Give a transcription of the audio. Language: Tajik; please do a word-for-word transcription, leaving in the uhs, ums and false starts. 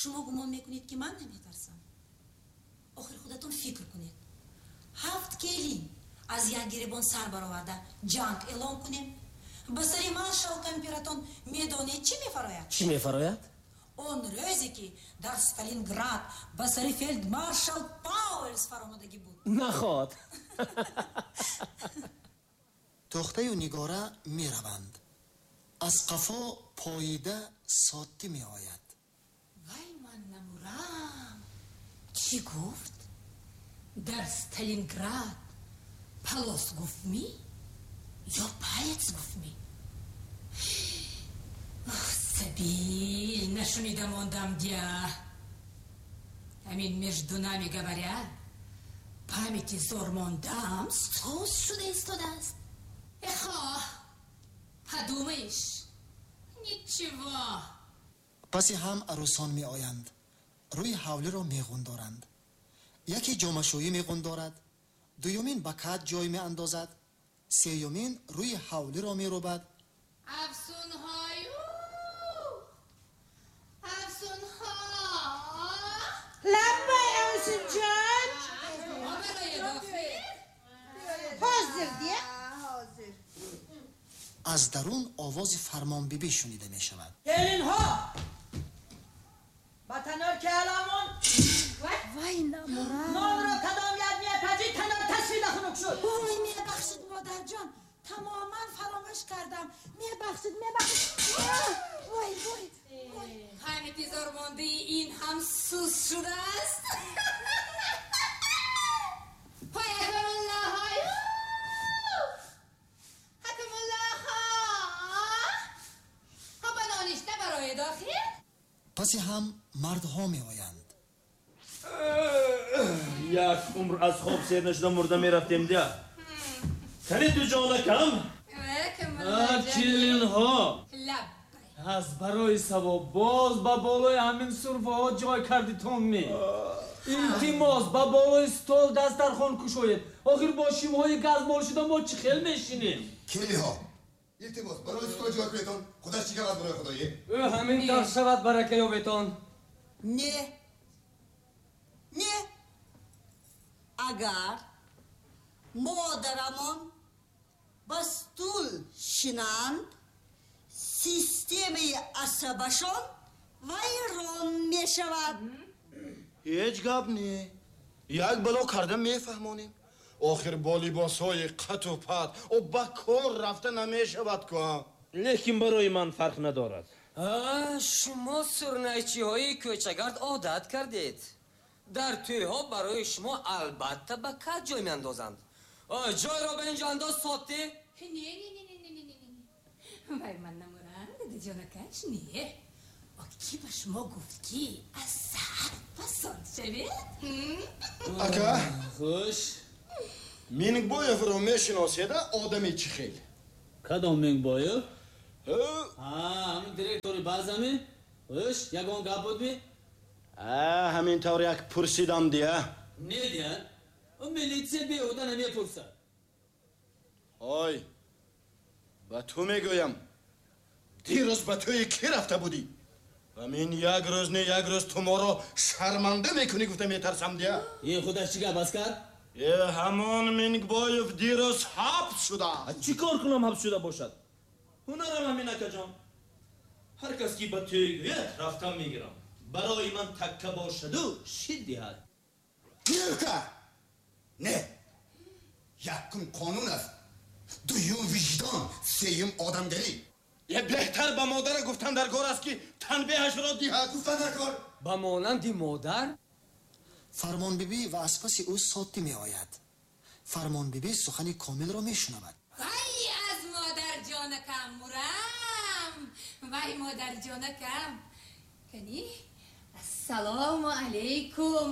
Шумо гумон мекунед, ки ман наметарсам? Охир худатон фикр кунед, ҳафт келин аз як гиребон сар бароварда ҷанг эълон кунем, ба сари маршал кампиратон медонед, чӣ мефарояд? Чӣ мефарояд? Он рӯзе, ки дар Сталинград ба сари фельдмаршал Паулюс фаромадагӣ буд. Наход. Тохтаю Нигора мераванд. Аз қафо поида Соттӣ меояд. Вай, ман намурам! Чӣ гуфт? Дар Сталинград палос гуфтмӣ ё палец гуфтмӣ? Сабил нашунида мондам дя. Ҳамин, между нами говоря, памяти зор мондам сус шуда истодааст. Эхо, подумаешь, ничего. Паси ҳам арӯсон меоянд, рӯи ҳавлиро меғундоранд. Яке ҷомашӯӣ меғундорад, дуюмин ба кат ҷой меандозад, сеюмин рӯи ҳавлиро мерӯбад. Афсунҳою афсунҳо! Лаббай, Афсунҷон. Ҳозир дия. Аз дарун овози Фармонбибӣ шунида мешавад. Келинҳо, ба танор ки аламон. Вай, намурам! Нонро кадом як мепазӣ, танор тасвида хунук шуд. Вой, мебахшид, модарҷон, тамоман фаромӯш кардам. Мебахшид, мебахшид. Вой, вой! Памяти зормондаи ин ҳам сус шудааст. Ҳакамуллоҳаю ҳакамуллоҳо, ба ноништа барои дохил. Паси ҳам мардҳо меоянд. Як умр аз хоб сер нашуда мурда мерафтем дия. Кани, дуҷонакам? Келинҳо! Лаб. Аз барои савоб, боз ба болои ҳамин сурфаҳо ҷой кардитон ми? Илтимос, ба болои стол дастархон кушоед. Охир бо шимҳои газмол шуда мо чӣ хел мешинем? Келиҳо, илтимос, барои стол ҷой кунедон. Худаш чӣ гавад, барои худое? Ӯ ҳамин тавр шавад, барака ёбетон. Не, не, агар модарамон ба стул шинанд, системаи асабашон вайрон мешавад. Ҳеҷ гап не, як бало карда мефаҳмонем. Охир бо либосҳои қату пат о ба кор рафта намешавад ку. Лекин барои ман фарқ надорад. Шумо сурнайчиҳои кӯчагард одат кардед. Дар тӯйҳо барои шумо албатта ба кат ҷой меандозанд. Ҷойро ба ин ҷо андоз, Сотӣ. Не, не, не, не, не, не, не, вай, ман намурам, дадаҷонакаш, не. Ки ба шумо гуфт, ки аз саҳар пасонд шавед? Ака. Хуш. Мингбоевро мешиноседа? Одами чӣ хел? Кадом Мингбоев? Ҳамин директори базами? Хуш, ягон гап будми? Ҳамин тавр як пурсидам дия. Не дия, милитсия беҳуда намепурсад. Ой, ба ту мегӯям, дирӯз ба тӯи кӣ рафта будӣ? Ва мин як рӯз не, як рӯз ту моро шарманда мекунӣ, гуфта метарсам дия. Ин худаш чӣ гап, аскар? Е, ҳамон Мингбоев дирӯз ҳабс шуда. Чӣ кор кунам, ҳабс шуда бошад? Ҳунарам ҳамин, акаҷон. Ҳар кас ки ба тӯй гӯяд, рафтам мегирам. Барои ман такка бошаду шид диҳад. Нелка, не, якум қонун аст, дуюм виҷдон, сеюм одамгарӣ. Е, беҳтар ба модара гуфтан дар кор аст, ки танбеҳашро диҳад. Гуфтан дар кор. Ба монанди модар. Фармонбибӣ ва аз паси ӯ Соттӣ меояд. Фармонбибӣ сухани Комилро мешунавад. Вай, аз модарҷонакам мурам! Вай, модарҷонакам, кани, ассалому алайкум.